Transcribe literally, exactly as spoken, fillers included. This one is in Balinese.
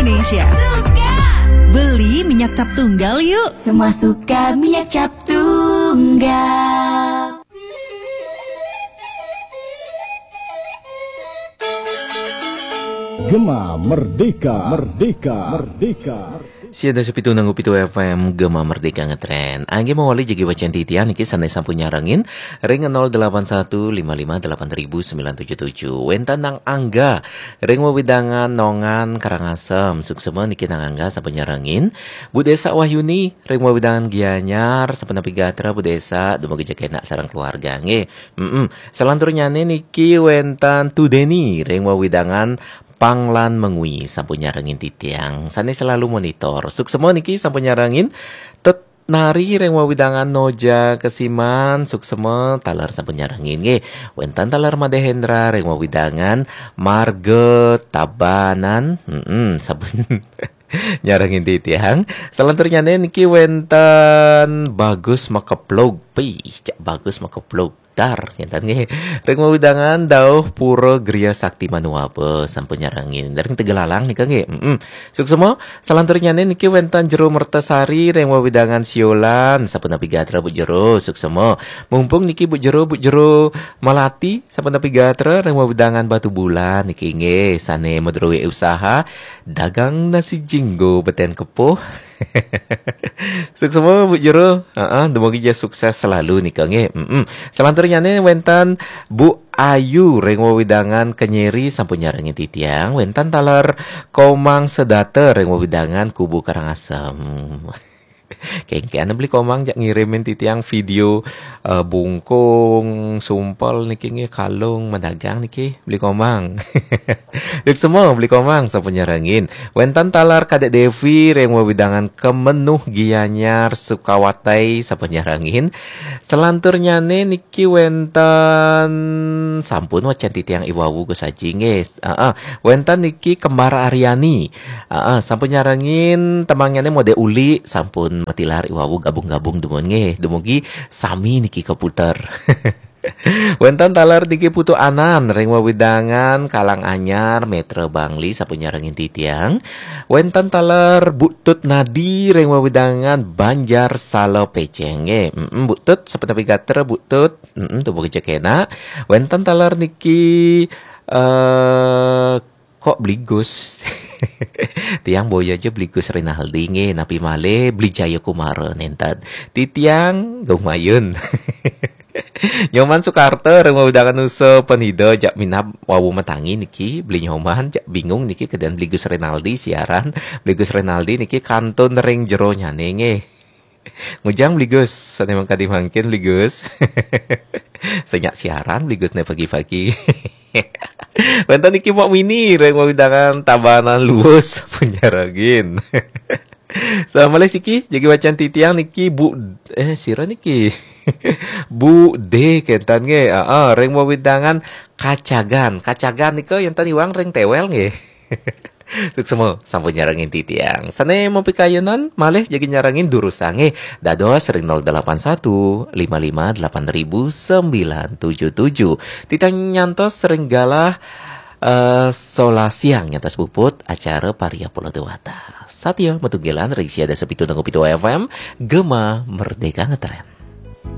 Indonesia. Suka. Beli minyak cap tunggal yuk. Semua suka minyak cap tunggal. Gema Merdeka, Merdeka, Merdeka. Sia dasa pitu nanggu pitu F M Gema Merdeka Ngetren. Angge mawali jagi wacan titiang niki sane sampun nyarengin ring nol delapan satu lima lima delapan ribu sembilan tujuh tujuh. Wenten Nang Angga ring wewidangan Nongan Karangasem. Suksema niki Nang Angga sampun nyarengin. Bu Desa Wahyuni ring wewidangan Gianyar sampun napi gatra Bu Desa, dumugi jagi enak sareng keluarga nggih. Mm-mm. Salanturnyane niki wenten Tudeni ring wewidangan Panglan Mengwi sampun nyarengin titiang. Sane selalu monitor. Suksema niki sampun nyarengin. Tut Nari ring wewidangan Noja Kesiman, suksema taler sampun nyarengin nggih. Wenten taler Made Hendra ring wewidangan Marga Tabanan, mm sampun nyarengin titiang. Salanturnyane niki wenten Bagus Makeplog. Pih, cak Bagus Makeplog. Dar, ngenten nggih. Ring wewidangan Dauh Pura Griya Sakti Manuaba sampun nyarengin. Ring Tegalalang nika nggih. Mm-mm. Suksema, salanturnyane niki wenten Jero Mertasari ring wewidangan Siolan sampun napi gatra Bu Jero. Suksema. Mumpung niki Bu Jero, Bu Jero Malati sampun napi gatra ring wewidangan Batubulan niki nggih sane madruwe usaha dagang nasi jinggo beten kepuh. Suksema Bu Jero. Heeh, dumugi ja sukses selalu nika nggih. Mm-mm. Salanturnyane wenten Bu Ayu ring wewidangan Kenyeri sampun nyarengin titiang, wenten taler Komang Sedata ring wewidangan Kubu Karangasem. Kengken beli Komang jak ngirimin titiang video eh, bungkung, sumpel niki nggih, kalung, madagang niki beli Komang. Suksema beli Komang sampun nyarengin. Wenten taler Kadek Devi ring wewidangan Kemenuh Gianyar Sukawati sampun nyarengin. Salanturnyane niki wenten sampun wacan titiang iwawu Gus Aji nggih. Heeh. Wenten niki Kembar Aryani. Heeh, sampun nyarengin temangnyane Mode Uli sampun matilar iwawu gabung-gabung dumun nggih. Dumugi sami niki kaputer. Wenten taler niki Putu Anan ring wewidangan Kalang Anyar Metra Bangli sampun nyarengin titiang. Wenten taler Bu Tut Nadi ring wewidangan Banjar Sala Peceng nggih. Mm-mm, Bu Tut sampun napi gatra Bu Tut. Mm-mm, dumugi ja enak. Wenten taler niki eh kok Bli Gus. Tiang boya ja Bli Gus Rinaldi nggih, napi malih Bli Jayakumara nenten. Titiang Gung Mayun. Nyoman Sukarta ring wewidangan Nusa Penida jak minab wawu matangi niki, beli Nyoman jak bingung niki kedian Bli Gus Rinaldi siaran. Bli Gus Rinaldi niki kantun ring jeronyane nggih. Ngujang Bli Gus, sane mangkadi mangkin Bli Gus. Senyak siaran Bli Gus ne pagi-pagi. Wenten niki Mok Mini ring wewidangan Tabanan Luwus sampun nyarengin. Salam malih siki, jagi wacan titiang niki Bu eh sira niki. Bu D kenten nggih. Heeh, ring wewidangan Kacagan. Kacagan nika enten iwang ring Tewel nggih. Suksema sampun nyarengin titiang. Sane mapikayunan malih jagi nyarengin durusang nggih. Dados ring nol delapan satu lima lima delapan ribu sembilan tujuh tujuh. Titiang nyantos ring galah eh, solas siang nyantos puput acara Parya Pola Dewata. Satya matunggilan ring sia dasa pitu nanggu pitu F M, Gema Merdeka Ngetren.